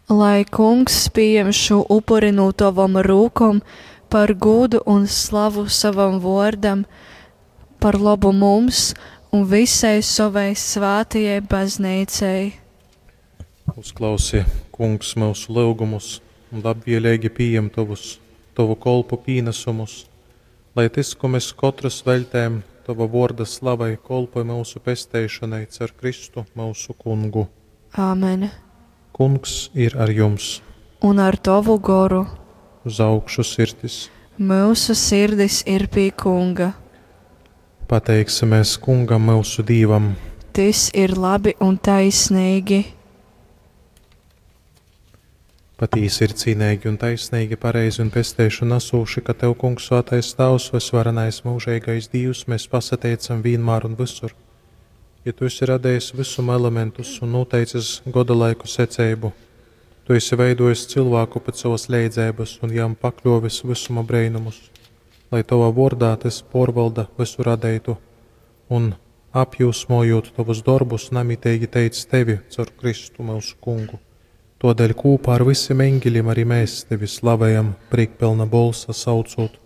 Lai Kungs pījem šū upuri no tavom rūkom par gūdu un slavu savam vōrdam, par lobu mums un visai sovai svātajai bazneicai. Uzklausi, Kungs, myusu lyugumus un labvieleigi pījem tovus, tovu kolpu pīnasumus, lai tys, kū mes kotrys veļtejam tova vōrda slavai, kolpoj myusu pesteišonai caur Kristu, myusu Kungu. Āmen. Kungs ir ar jums! Un ar tovu goru. Uz augšu sirdis! Myusu sirdis ir pie Kunga. Pateiksimies Kungam, myusu Dīvam! Tys ir labi un taisneigi. Patīsi ir cīneigi un taisneigi, pareizi un pesteišonu nasūši, ka Tev, Kungs, Svātais Tāvs, vysvarenais mūžeigais Dīvs, mēs pasateicam vienmēr un visur. Jo Tu esi radījis visuma elementus un noteicis godalaiku seceibu, Tu esi veidojis cilvēku pēc savas leidzības un jam pakļovis visuma breinumus, lai Tavā vārdā tas porvalda visu radeitu un apjūsmojot Tavus dorbus, namiteigi teic Tevi caur Kristu mūsu Kungu. Todēļ kopā ar visiem eņģeļiem arī mēs Tevi slavējam, priekpilna bolsa saucot.